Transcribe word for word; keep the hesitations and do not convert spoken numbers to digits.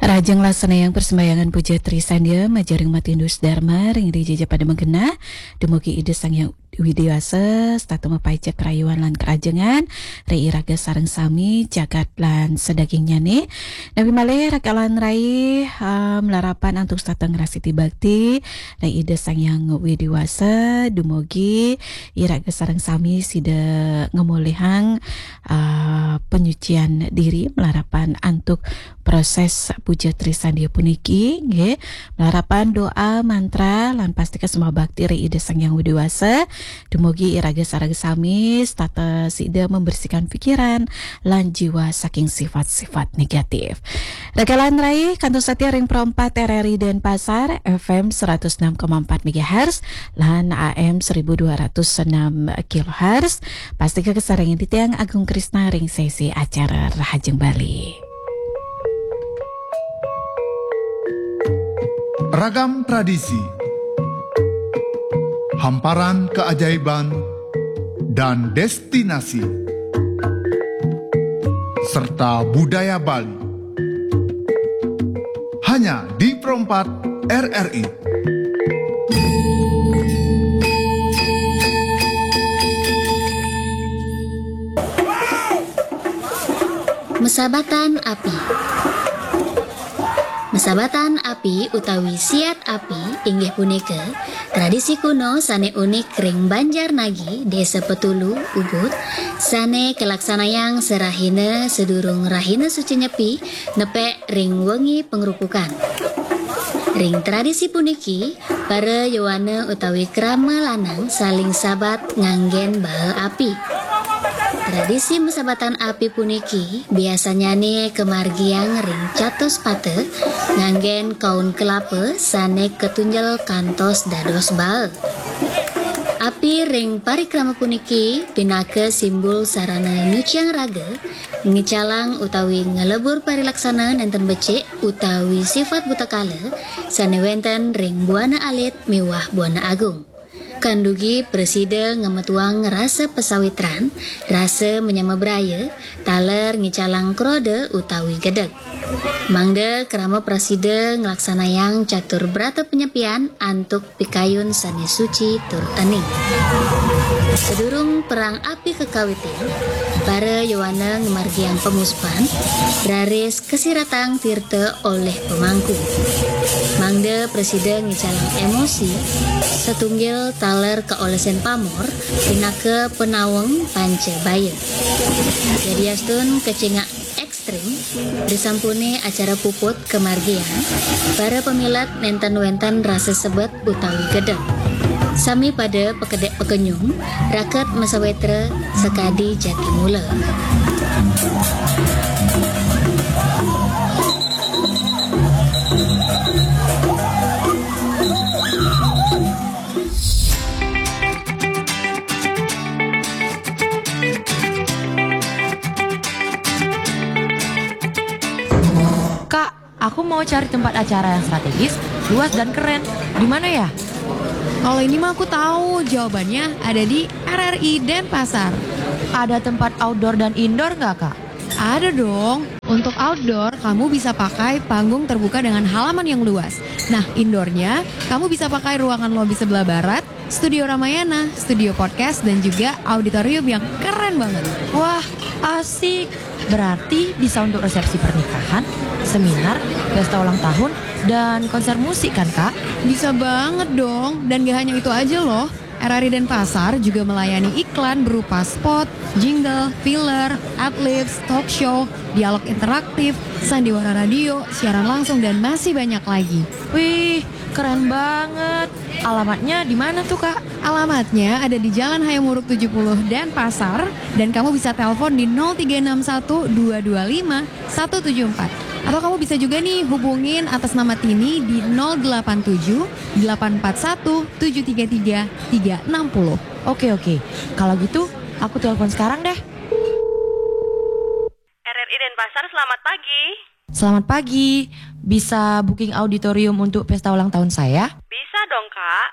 Rahajeng laksana yang persembahyangan puja Trisandia, majaring matindus Dharma, ring ida jaja pada magenah, dumugi Ida Sang Hyang Widhi Wasa, setata mapaicet rayuan lan kerajengan, ring iraga sareng sami, jagat lan sadagingnyane. Napi malih rakalan rai, em, larapan antuk setata ngrasiti bakti, ring Ida Sang Hyang Widhi Wasa, dumugi iraga sareng sami sida ngamolihang, eh, penyucian diri, malarapan antuk proses puja Trisandia puniki, nggih. Malarapan doa, mantra, lan pastika sembah bakti ring Ida Sang Hyang Widhi Wasa. Dumugi iraga sareng sami setata sida membersihkan pikiran lan jiwa saking sifat-sifat negatif. Rakalan rai, kantun satia ring Pro empat R R I Denpasar, F M seratus enam koma empat megahertz, lan A M seribu dua ratus enam kilohertz. Pastika kasarengin titiang Agung Krisna ring sesi acara Rahajeng Bali. Ragam tradisi, hamparan keajaiban, dan destinasi, serta budaya Bali. Hanya di Pro empat R R I. Mesabatan api. Mesabatan api utawi siat api inggih punika tradisi kuno sane unik ring Banjar Nagi, Desa Petulu, Ubud, sane kalaksanayang sarahina sadurung Rahina Suci Nyepi nepek ring wengi pangrupukan. Ring tradisi puniki, para yowana utawi krama lanang saling sabat nganggen baa api. Tradisi mesabatan api puniki biasanyane kamargiang ring Catuspata nganggen kaun kelapa sane katunjel kantos dados baa. Api ring parikrama puniki pinaka simbol sarana nyuciang raga, ngicalang utawi nglebur parilaksana nenten becik utawi sifat buta kala sane wenten ring buana alit miwah buana agung. Kandugi prasida ngametuang rasa pasawitran, rasa manyama braya, taler ngicalang kroda utawi gedeg. Mangda krama prasida nglaksanayang catur brata panyepian antuk pikayun sane suci tur ening. Sadurung perang api kakawitin, para yowana ngamargiang pamusupan, raris kasiratang tirta olih pamangku. Mangda prasida ngicalang emosi, satunggil taler kaolesen pamor, pinaka panaweng panca baya. Yadiastun kacingak ekstrim, risampune acara puput kamargiang, para pamilet nenten wenten rasa sebet utawi gedeg. Sami pada pakedek pakenyung, raket masawitra sakadi jati mula. Kak, aku mau cari tempat acara yang strategis, luas dan keren. Di mana ya? Kalau ini mah aku tahu, jawabannya ada di R R I Denpasar. Ada tempat outdoor dan indoor nggak, Kak? Ada dong. Untuk outdoor, kamu bisa pakai panggung terbuka dengan halaman yang luas. Nah, indoornya, kamu bisa pakai ruangan lobi sebelah barat, studio Ramayana, studio podcast, dan juga auditorium yang keren banget. Wah, asik. Berarti bisa untuk resepsi pernikahan, seminar, pesta ulang tahun, dan konser musik kan, Kak? Bisa banget dong. Dan gak hanya itu aja loh. R R I Denpasar juga melayani iklan berupa spot, jingle, filler, adlibs, talk show, dialog interaktif, sandiwara radio, siaran langsung, dan masih banyak lagi. Wih, keren banget. Alamatnya di mana tuh, Kak? Alamatnya ada di Jalan Hayam Wuruk tujuh puluh Denpasar, dan kamu bisa telepon di nol tiga enam satu dua dua lima satu tujuh empat. Atau kamu bisa juga nih hubungin atas nama Tini di nol delapan tujuh delapan empat satu tujuh tiga tiga tiga enam puluh. Oke, oke. Kalau gitu, aku telepon sekarang deh. R R I Denpasar, selamat pagi. Selamat pagi. Bisa booking auditorium untuk pesta ulang tahun saya? Bisa dong, Kak.